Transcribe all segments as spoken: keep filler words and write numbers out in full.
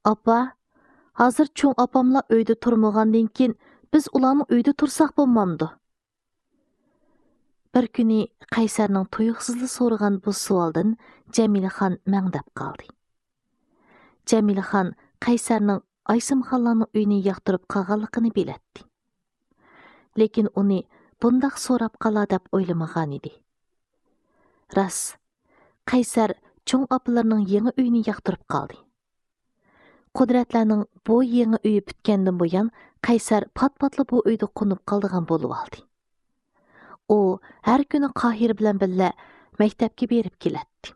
«ئاپا، ھازىر چوڭ ئاپاملا ئۆيدە تۇرمىغاندىن كېيىن، بىز ئۇلارنىڭ ئۆيدە تۇرساق بولمامدۇ؟» بىر كۈنى قەيسەرنىڭ تۇيۇقسىزلا سورىغان بۇ سوئالدىن جەمىلىخان مەڭدەپ قالدى. جەمىلىخان قەيسەرنىڭ ئايسىمخانلارنىڭ ئۆيىنى ياقتۇرۇپ قالغانلىقىنى بىلەتتى. لېكىن ئۇنى بۇنداق سوراپ قالار دەپ ئويلىمىغانىدى. راست، قەيسەر چوڭ ئاپىلىرىنىڭ يېڭى ئۆيىنى ياقتۇرۇپ قالدى. قۇدرەتلەرنىڭ بۇ يېڭى ئۆيى پۈتكەندىن بۇيان، قەيسەر پات-پاتلا بۇ ئۆيدە قونۇپ قالىدىغان بولۇۋالدى. ئۇ ھەر كۈنى قاھىر بىلەن بىللە مەكتەپكە بېرىپ كېلەتتى.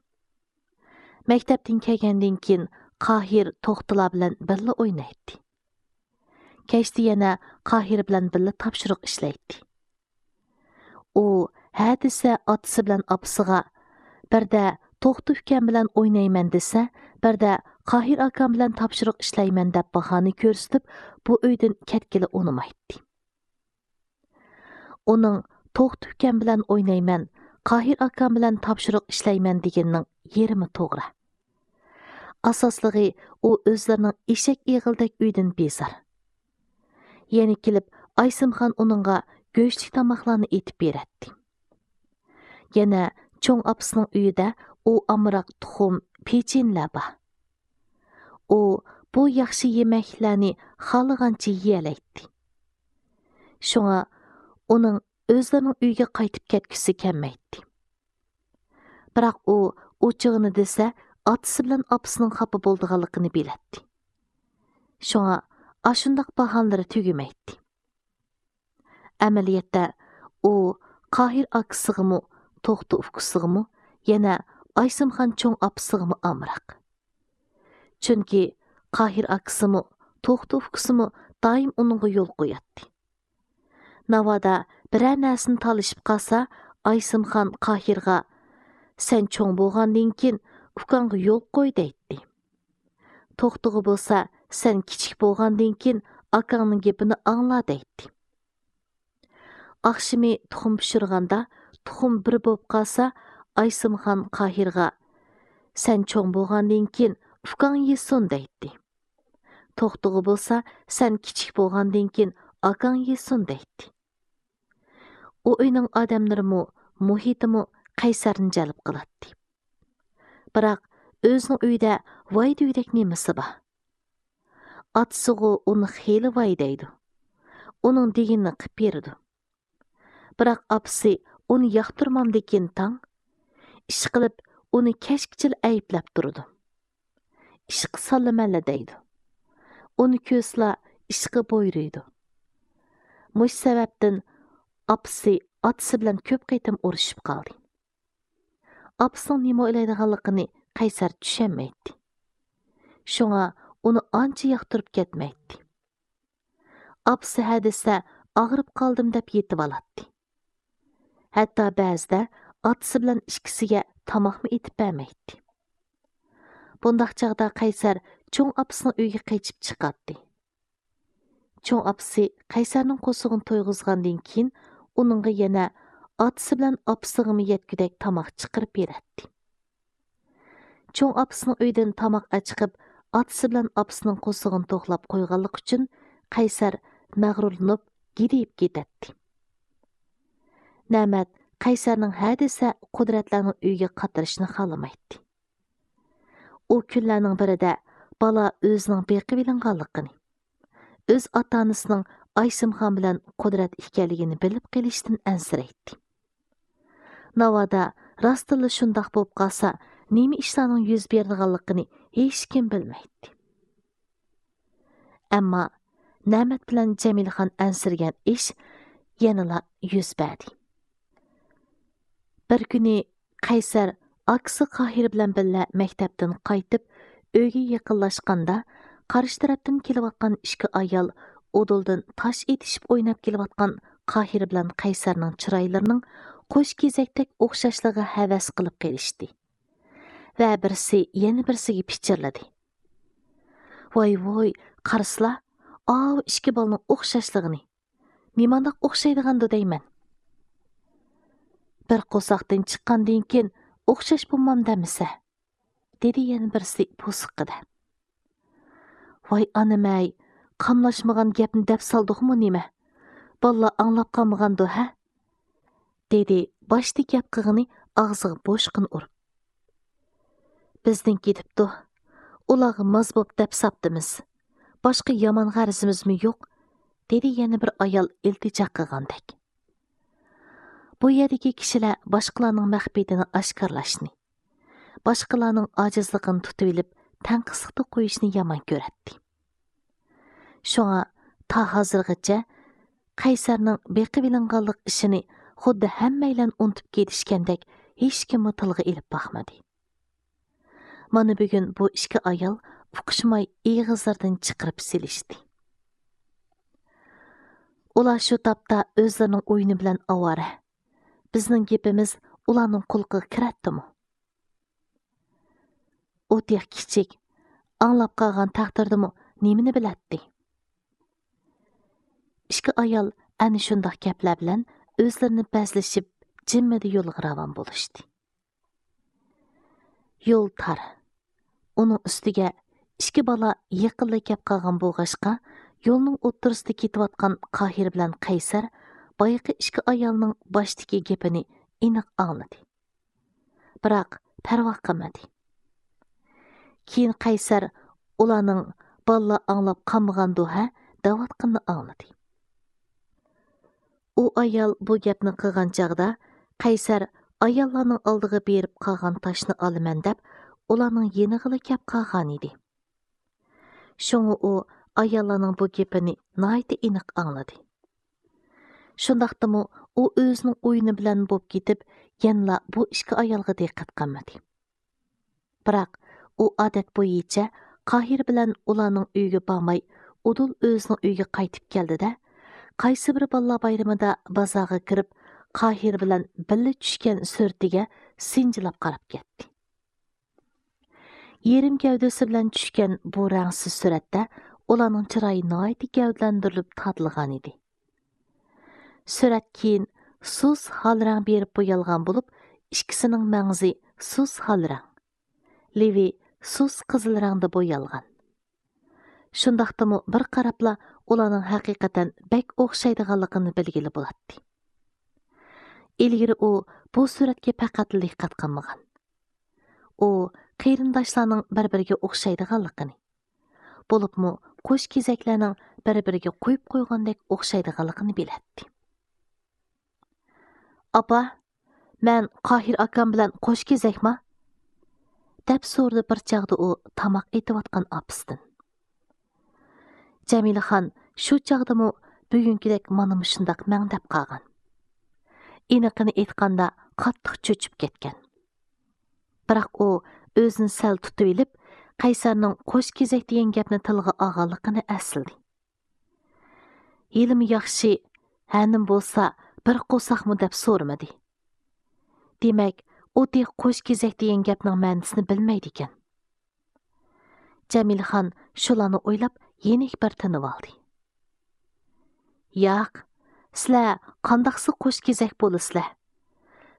مەكتەپتىن كەلگەندىن كېيىن، قاھىر توختىلار بىلەن بىللە ئوينايتتى. كەچتە يەنە قاھىر بىلەن بىللە تاپشۇرۇق ئىشلەيتتى. ئۇ ھە دېسە ئاتىسى بىلەن ئاپىسىغا، بىردە توختى ئۇكام بىلەن ئوينايمەن دېسە، بىردە قاھىر ئاكام بىلەن تاپشۇرۇق ئىشلەيمەن دەپ باھانە كۆرسىتىپ، بۇ ئۆيدىن كەتكىلى ئۇنىمايتتى. ئۇنىڭ توختى ئۇكام بىلەن ئوينايمەن، قاھىر ئاكام بىلەن تاپشۇرۇق ئىشلەيمەن دېگىنىنىڭ يېرىمى توغرا. ئاساسلىقى، ئۇ ئۆزلىرىنىڭ ئېشەك ئېغىلدەك ئۆيدىن بىزار. يەنە كېلىپ ئايسىمخان ئۇنىڭغا گۆشلۈك تاماقلارنى ئېتىپ بېرەتتى. يەنە چوڭ ئاپىسىنىڭ ئۆيىدە ئۇ ئامراق تۇخۇم، پېچىنىلەر بار. ئۇ بۇ ياخشى يېمەكلىكلەرنى خالىغانچە يېيەلەيتتى. شۇڭا ئۇنىڭ ئۆزلىرىنىڭ ئۆيىگە قايتىپ كەتكۈسى كەلمەيتتى. بىراق ئۇ ئوچۇقىنى دېسە، ئاتىسى بىلەن ئاپىسىنىڭ خاپا بولىدىغانلىقىنى بىلەتتى. شۇڭا ئاشۇنداق باھانىلىرى تۈگىمەيتتى. ئەمەلىيەتتە ئۇ قاھىر ئاكىسىغىمۇ، توختى ئۇكىسىغىمۇ، يەنە ئايسىمخان چوڭ ئاپىسىغىمۇ ئامراق. چۈنكى قاھىر ئاكىسىمۇ، توختى ئۇكىسىمۇ دائىم ئۇنىڭغا يول قوياتتى. ناۋادا بىرەر نەرسىنى تالىشىپ قالسا، ئايسىمخان قاھىرغا، «سەن چوڭ بولغاندىن كېيىن ئۇكاڭغا يول قوي» دەيتتى. توختىغا بولسا، «سەن كىچىك بولغاندىن كېيىن ئاكاڭنىڭ گېپىنى ئاڭلا» دەيتتى. ئاخشىمى تۇخۇم پىشۇرغاندا، تۇخۇم بىر بولۇپ قالسا، ئايسىمخان قاھىرغا، «سەن چوڭ بولغاندىن كېيىن ئۇكاڭ يېسۇن» دەيتتى. توختىغا بولسا، «سەن كىچىك بولغاندىن كېيىن ئاكاڭ يېسۇن» دەيتتى. ئۇ ئۆينىڭ ئادەملىرىمۇ، مۇھىتىمۇ قەيسەرنى جەلپ قىلاتتى. بىراق ئۆزىنىڭ ئۆيىدە ۋاي دېگۈدەك نېمىسى بار؟ ئاتىسىغۇ ئۇنى خېلى ۋاي دەيدۇ. ئۇنىڭ دېگىنىنى قىپ بېرىدۇ. بىراق ئاپىسى ئۇنى ياقتۇرمامدىكىن تاڭ، ئىشقىلىپ ئۇنى كەچكىچىلا ئەيىبلەپ تۇرىدۇ. ئىشقا سالىمەنلا دەيدۇ. ئۇنى كۆرسىلا ئىشقا بۇيرۇيدۇ. مۇشۇ سەۋەبتىن ئاپىسى ئاتىسى بىلەن كۆپ قېتىم ئۇرۇشۇپ قالدى. ئاپىسىنىڭ نېمە ئويلايدىغانلىقىنى قەيسەر چۈشەنمەيتتى. شۇڭا ئۇنى ئانچە ياقتۇرۇپ كەتمەيتتى. ئاپىسى ھە دېسە، «ئاغرىپ قالدىم» دەپ يېتىۋالاتتى. ھەتتا بەزىدە ئاتىسى بىلەن ئىككىسىگە تاماقمۇ ئېتىپ بەرمەيتتى. بۇنداق چاغدا قەيسەر چوڭ ئاپىسىنىڭ ئۆيىگە قېچىپ چىقاتتى. چوڭ ئاپىسى قەيسەرنىڭ قورسىقىنى تويغۇزغاندىن كېيىن، ئۇنىڭغا يەنە ئاتىسى بىلەن ئاپىسىغىمۇ يەتكۈدەك تاماق چىقىرىپ بېرەتتى. چوڭ ئاپىسىنىڭ ئۆيىدىن تاماق ئەچىقىپ، ئاتىسى بىلەن ئاپىسىنىڭ قورسىقىنى توقلاپ قويغانلىقى ئۈچۈن، قەيسەر مەغرۇرلىنىپ، گىدىيىپ كېتەتتى. نەمەت قەيسەرنىڭ ھە دېسە قۇدرەتلەرنىڭ ئۆيىگە قاترىشىنى خالىمايتتى. ئۇ كۈنلەرنىڭ بىرىدە بالا ئۆزىنىڭ بېقىۋېلىنغانلىقىنى، ئۆز ئاتا-ئانىسىنىڭ ئايسىمخان بىلەن قۇدرەت ئىكەنلىكىنى بىلىپ قېلىشتىن ئەنسىرەيتتى. ناۋادا راستتىنلا شۇنداق بولۇپ قالسا، نېمە ئىشلارنىڭ يۈز بېرىدىغانلىقىنى ھېچكىم بىلمەيتتى. ئەمما نەمەت بىلەن جەمىلىخان ئەنسىرىگەن ئىش يەنىلا يۈز بەردى. بىر كۈنى قەيسەر ئاكىسى قاھىر بىلەن بىللە مەكتەپتىن قايتىپ، ئۆيگە يېقىنلاشقاندا، قارشى تەرەپتىن كېلىۋاتقان ئىككى ئايال ئۇدۇلدىن تاش ئېتىشىپ ئويناپ كېلىۋاتقان قاھىر بىلەن قەيسەرنىڭ چىرايلىرىنىڭ قوش كېزەكتەك ئوخشاشلىقىغا ھەۋەس قىلىپ قېلىشتى. ۋە بىرسى يەنە بىرسىگە پىچىرلىدى. ۋاي ۋوي، قارىسىلا، ئاۋۇ ئىككى بالىنىڭ ئوخشاشلىقىنى. نېمانداق ئوخشايدىغاندۇ دەيمەن. بىر قورساقتىن چىققاندىن كېيىن ئوخشاش بولمامدۇ ئەمىسە؟ دېدى يەنە بىرسى بوسۇغىدە. ۋاي ئانىمەي، قاملاشمىغان گەپنى دەپ سالدۇقمۇ نېمە؟ بالىلار ئاڭلاپ قالمىغاندۇ ھە؟ دېدى باشتا گەپ قىلغىنى ئاغزىغا بوشقىنە ئۇرۇپ. بىزنىڭ كېتىپتۇ. ئۇلارغا ماز بوپ دەپ ساپتىمىز. باشقا يامان غەرىزىمىزمۇ يوق، دېدى يەنە بىر ئايال ئىلتىجا قىلغاندەك. بۇ يەردىكى كىشىلەر باشقىلارنىڭ مەخپىيىتىنى ئاشكارىلاشنى، باشقىلارنىڭ ئاجىزلىقىنى تۇتۇۋېلىپ تەنقىسلىقتا قويۇشنى يامان كۆرەتتى. شۇڭا تا ھازىرغىچە قەيسەرنىڭ بېقىۋېلىنغانلىق ئىشىنى خۇددى ھەممەيلەن ئۇنتۇپ كېتىشكەندەك ھېچكىممۇ تىلغا ئېلىپ باقمىدى. مانا بۈگۈن بۇ ئىككى ئايال ئۇقۇشماي ئېغىزلىرىدىن چىقىرىپ سېلىشتى. ئۇلار شۇ تاپتا ئۆزلىرىنىڭ ئويۇنى بىلەن ئاۋارە. بىزنىڭ گېپىمىز ئۇلارنىڭ قۇلىقىغا كىرەتتىمۇ؟ ئۇ تېخى كىچىك، ئاڭلاپ قالغان تەقدىردىمۇ نېمىنى بىلەتتى؟ ئىككى ئايال ئەنە شۇنداق گەپلەر بىلەن ئۆزلىرىنى بەزلىشىپ، جىممىدە يولغا راۋان بولۇشتى. يول تار. ئۇنىڭ ئۈستىگە ئىككى بالا يېقىنلا كەپ قالغان بولغاچقا، يولنىڭ ئوتتۇرىسىدا كېتىۋاتقان قاھىر بىلەن قەيسەر بايىقى ئىككى ئايالنىڭ باشتىكى گېپىنى ئېنىق ئاڭلىدى. بىراق پەرۋا قىلمىدى. كېيىن قەيسەر ئۇلارنىڭ بالىلار ئاڭلاپ قالمىغاندۇ ھە دەۋاتقىنىنى ئاڭلىدى. ئۇ ئايال بۇ گەپنى قىلغان چاغدا قەيسەر ئاياللارنىڭ ئالدىغا بېرىپ قالغان تاشنى ئالىمەن دەپ ئۇلارنىڭ يېنىغىلا كەپ قالغانىدى. شۇڭا ئۇ ئاياللارنىڭ بۇ گېپىنى ناھايىتى ئېنىق ئاڭلىدى. شۇنداقتىمۇ ئۇ ئۆزىنىڭ ئويۇنى بىلەن بوپ كېتىپ، يەنىلا بۇ ئىككى ئايالغا دىققەت قىلمىدى. بىراق ئۇ ئادەت بويىچە قاھىر بىلەن ئۇلارنىڭ ئۆيىگە بارماي، ئۇدۇل ئۆزىنىڭ ئۆيىگە قايتىپ كەلدى-دە، قايسى بىر بالىلار بايرىمىدا بازارغا كىرىپ، قاھىر بىلەن بىللە چۈشكەن سۈرىتىگە سىنچىلاپ قاراپ كەتتى. يېرىم گەۋدىسى بىلەن چۈشكەن بۇ رەڭسىز سۈرەتتە ئۇلارنىڭ چىرايى ناھايىتى گەۋدىلەندۈرۈلۈپ تارتىلغانىدى. سۈرەت كېيىن سۇس ھال رەڭ بېرىپ بويالغان بولۇپ، ئىككىسىنىڭ مەڭزى سۇس ھال رەڭ، لېۋى سۇس قىزىل رەڭدە بويالغان. شۇنداقتىمۇ بىر قاراپلا ئۇلارنىڭ ھەقىقەتەن بەك ئوخشايدىغانلىقىنى بىلگىلى بولاتتى. ئىلگىرى ئۇ بۇ سۈرەتكە پەقەتلا دىققەت قىلمىغان. ئۇ قېرىنداشلارنىڭ بىر-بىرىگە ئوخشايدىغانلىقىنى، بولۇپمۇ قوش كېزەكلەرنىڭ بىر-بىرىگە قويۇپ قويغاندەك ئوخشايدىغانلىقىنى بىلەتتى. «ئاپا، مەن قاھىر ئاكام بىلەن قوش كېزەكما؟» دەپ سورىدى بىر چاغدا ئۇ تاماق ئېتىۋاتقان ئاپىسىدىن. جەمىلىخان شۇ چاغدىمۇ بۈگۈنكىدەك مانا مۇشۇنداق مەڭدەپ قالغان. ئېنىقىنى ئېيتقاندا، قاتتىق چۆچۈپ كەتكەن. بىراق ئۇ ئۆزىنى سەل تۇتۇۋېلىپ، قەيسەرنىڭ قوش كېزەك دېگەن گەپنى تىلغا ئالغانلىقىنى ئەسلىدى. ھېلىمۇ ياخشى، ھەنىم بولسا بىر قورساقمۇ دەپ سورىمىدى. دېمەك، ئۇ تېخى قوش كېزەك دېگەن گەپنىڭ مەنىسىنى بىلمەيدىكەن. جەمىلىخان شۇلارنى ئويلاپ يېنىك بىر تىنىۋالدى. ياق، سىلەر قانداقسى قوش كېزەك بولىسىلەر؟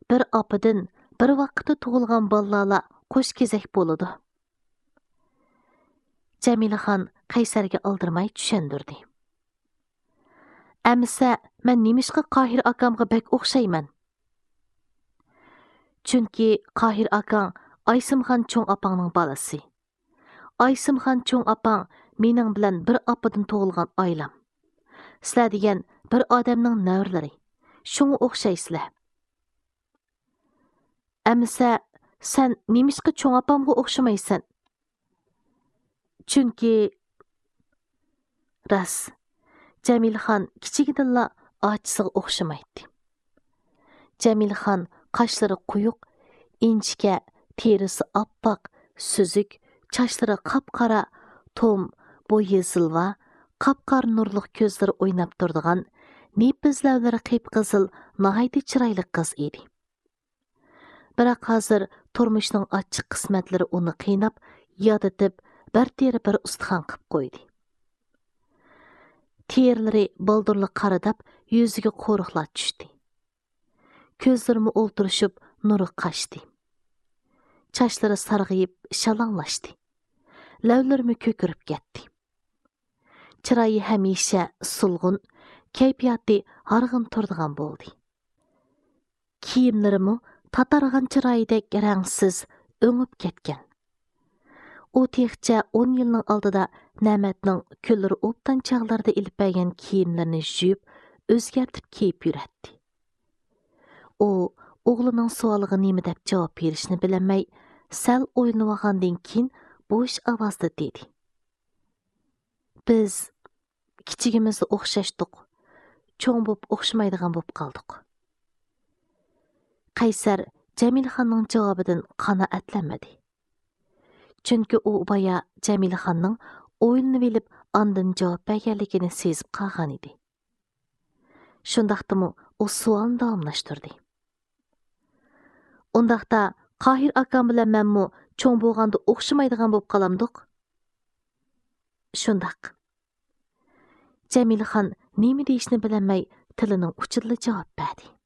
بىر ئاپىدىن بىر ۋاقىتتا تۇغۇلغان بالىلارلا قوش كېزەك بولىدۇ. جەمىلىخان قەيسەرگە ئالدىرىماي چۈشەندۈردى. ئەمىسە، مەن نېمىشقا قاھىر ئاكامغا بەك ئوخشايمەن؟ چۈنكى قاھىر ئاكاڭ ئايسىمخان چوڭ ئاپاڭنىڭ بالىسى. ئايسىمخان چوڭ ئاپاڭ مېنىڭ بىلەن بىر ئاپىدىن تۇغۇلغان ئايلام. سىلەر دېگەن بىر ئادەمنىڭ نەۋرىلىرى. شۇڭا ئوخشايسىلەر. ئەمىسە، سەن نېمىشقا چوڭ ئاپامغا ئوخشىمايسەن؟ چۈنكى، راست، جەمىلىخان كىچىكىدىنلا ئاچىسىغا ئوخشىمايتتى. جەمىلىخان قاشلىرى قويۇق، ئىنچىكە، تېرىسى ئاپئاق، سۈزۈك، چاچلىرى قاپقارا، توم، بويى زىلۋا، قاپقارا نۇرلۇق كۆزلىرى ئويناپ تۇرىدىغان، نېپىز لەۋلىرى قىپقىزىل، ناھايىتى چىرايلىق قىز ئىدى. بىراق ھازىر تۇرمۇشنىڭ ئاچچىق قىسمەتلىرى ئۇنى قىيناپ، يادىتىپ، بىر تېرە بىر ئۇستىخان قىپ قويدى. تېرىلىرى بالدۇرلا قارىداپ، يۈزىگە قورۇقلار چۈشتى. كۆزلىرىمۇ ئولتۇرۇشۇپ، نۇرى قاچتى. چاچلىرى سارغىيىپ، شالاڭلاشتى. لەۋلىرىمۇ كۆكىرىپ كەتتى. چىرايى ھەمىشە سولغۇن، كەيپىياتى ھارغىن تۇرىدىغان بولدى. كىيىملىرىمۇ تاتارغان چىرايىدەك رەڭسىز، ئۆڭۈپ كەتكەن. ئۇ تېخىچە ئون يىلنىڭ ئالدىدا نەمەتنىڭ كۈنلىرى ئوبدان چاغلىرىدا ئېلىپ بەرگەن كىيىملىرىنى يۇيۇپ، ئۆزگەرتىپ كىيىپ يۈرەتتى. ئۇ ئوغلىنىڭ سوئالىغا نېمە دەپ جاۋاب بېرىشنى بىلەلمەي، سەل ئويلىنىۋالغاندىن كېيىن بوش ئاۋازدا دېدى: «بىز كىچىكىمىزدە ئوخشاشتۇق، چوڭ بوپ ئوخشىمايدىغان بوپ قالدۇق.» قەيسەر جەمىلىخاننىڭ جاۋابىدىن قانائەتلەنمىدى. چۈنكى ئۇ بايا جەمىلىخاننىڭ ئويلىنىۋېلىپ ئاندىن جاۋاب بەرگەنلىكىنى سېزىپ قالغانىدى. شۇنداقتىمۇ ئۇ سوئالنى داۋاملاشتۇردى: «ئۇنداقتا، قاھىر ئاكام بىلەن مەنمۇ چوڭ بولغاندا ئوخشىمايدىغان بولۇپ قالامدۇق؟» «شۇنداق.» جەمىلىخان نېمە دېيىشنى بىلەلمەي، تىلىنىڭ ئۇچىدىلا جاۋاب بەردى.